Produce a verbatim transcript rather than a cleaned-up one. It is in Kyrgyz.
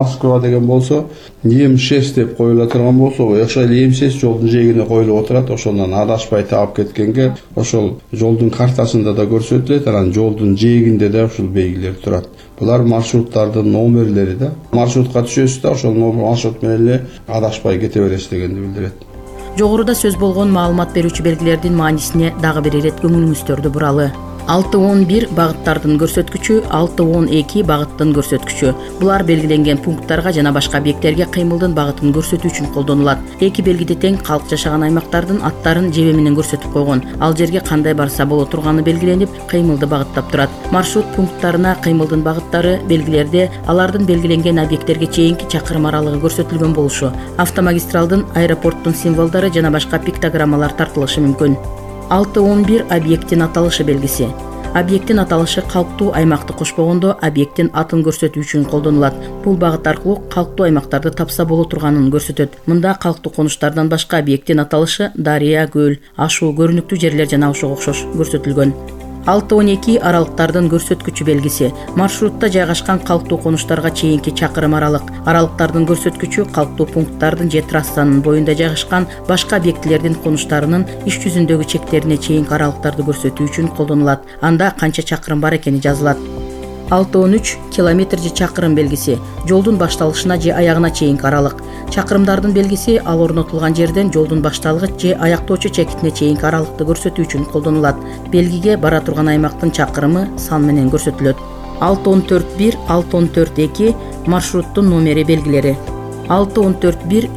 Москва деген болсо эм шесть деп коюла турган болсо, ошо эм шесть жолдун жээгине коюлуп отурат. Ошондон адашпай таап кеткенге ошол жолдун картасында да көрсөтүлөт, анан жолдун жээгинде да ушул белгилер турат. Булар маршруттардын номерлери да. Маршрутка түшөсүз да, ошол маршрут менен эле адашпай кете бересиз дегенди билдирет. Жогоруда сөз болгон маалымат берүүчү белгилердин маанисине дагы бир ирет көңүлүңүздөрдү буралы. алты он бир багыттардын көрсөткүчү, алты он эки багыттын көрсөткүчү. Булар белгиленген пункттарга жана башка объекттерге кыймылдын багытын көрсөтүү үчүн колдонулат. Эки белгиде тең калк жашаган аймактардын аттарын жебе менен көрсөтүп койгон. Ал жерге кандай барса боло турганы белгиленип, кыймылды багыттап турат. Маршрут пункттарына кыймылдын багыттары белгилерде алардын белгиленген объекттерге чейинки чакырым аралыгы көрсөтүлгөн болушу, автомагистралдын, аэропорттун символдору жана башка пиктограммалар тартылышы мүмкүн. алты он бир объекттин аталышы белгиси. Объекттин аталышы калктуу аймакты кошпогондо объекттин атын көрсөтүү үчүн колдонулат. Бул багыт аркылуу калктуу аймактарды тапса боло турганын көрсөтөт. Мында калктуу конуштардан башка объекттин аталышы дарыя, көл, ашуу, көрүнүктүү жерлер жана ошого окшош көрсөтүлгөн. алты он эки аралыктардын көрсөткүчү белгиси. Маршрутта жайгашкан калктуу конуштарга чейинки чакырым аралык. Аралыктардын көрсөткүчү калктуу пункттардын же трассанын боюнда жайгашкан башка объектилердин конуштарынын иш жүзүндөгү чектерине чейинки аралыктарды көрсөтүү үчүн колдонулат. Анда канча чакырым бар экени жазылат. алты он үч километр же чакырым белгиси. Жолдун башталышына же аягына чейинки аралык. Чакырымдардын белгиси ал орнотулган жерден жолдун башталгыч же аяктоочу чекитине чейинки аралыкты көрсөтүү үчүн колдонулат. Белгиге бара турган аймактын чакырымы сан менен көрсөтүлөт. алты он төрт бир, алты он төрт эки маршруттун номери белгилери. алты он төрт бир